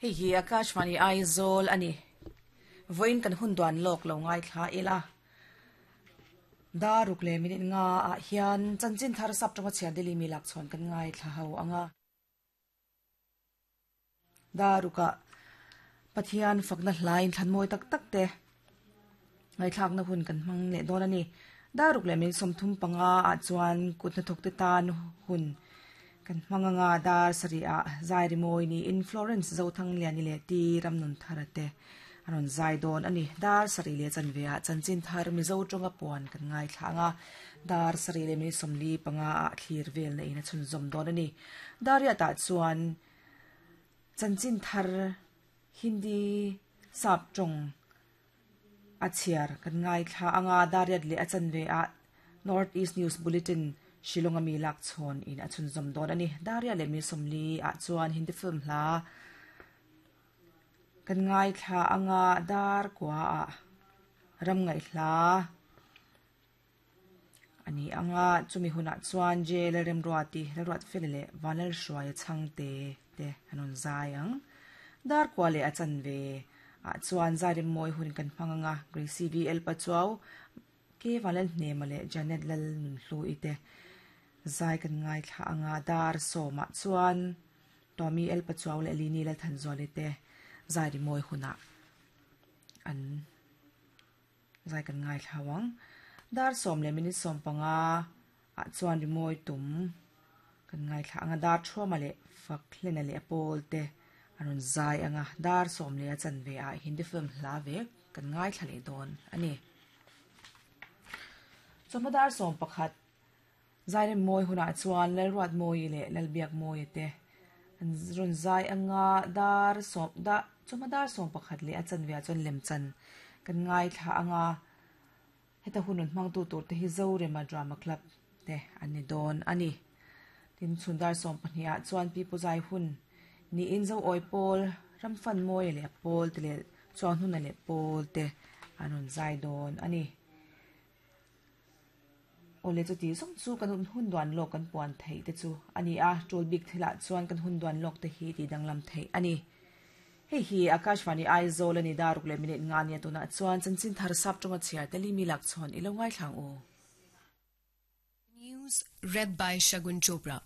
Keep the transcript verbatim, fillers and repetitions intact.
Hei hi Akashvani Aizawl ani. Voin kan hun duan lok lo ngai thla ila. Daruk le minute nga a hian chanchin thar sap tonga chian deli mi lak chon kan ngai thla ho anga. Daruka Pathian fakna hlain thlan moi tak tak te. Ngai thlak na hun kan hmang le don ani. Daruk le min somthum panga a chuan kutna thok te tan hun kan hmanganga dar sari a zai rimoi ni in Florence zothang liani le ti ramnun tharate aron zai don ani dar sari le chanve a chanchin thar mi zo tonga puan kan ngai thlanga dar sari le mi somli panga a thlir vel na ina chun zom don ani daria ta chuan chanchin thar Hindi sap tong a chiar kan ngai thla anga dariat le a chanve a North East News Bulletin Shillong ami lak chon in a chun zom don ani daria le mi somli a chuan Hindi film hla kan ngai thla anga dar kwa a ram ngai hla ani anga chumi huna chuan je le rem ruati le ruat felele vanal hruai changte te anon zai ang dar kwa le a chanve a chuan zai moi hun kan hmanganga Gracie V L pachuau ke vanal hne male Janet lal nun hlu ite zai kan ngai thla anga dar soma chuan Tommy L pachuau le lini lal than zoli te zai ri moi huna an zai kan ngai thlawang dar som le minute som panga a chuan ri moi tum kan ngai thla anga dar thua le fak hlena le apol te aron zai anga dar som le a chanve a Hindi film hla ve kan ngai thla le don ani choma dar som pakhat zai re moi huna chuan lal ruat moi le lal biak moi te an ron zai anga dar som da choma dar som pakhat le a chanve a chuan lem chan kan ngai thla anga heta hunun hmang tu tur te hi zo rema drama club te ani don ani tin chundar som pahnih a chuan pi puzai hun ni in zo oi pol ram fan moi le pol te le chuan hun le pol te anon zai don ani ole chu ti song chu kan hun duan lok kan puan thei te chu ani a tul bik thila chuan kan hun duan lok te hi ti danglam thei ani hei hi Akashvani Aizawl ani daruk le minute nga nia tuna chuan chanchin thar sap tonga chiar teli mi lak chon ilo ngai thlang u. News read by Shagun Chopra.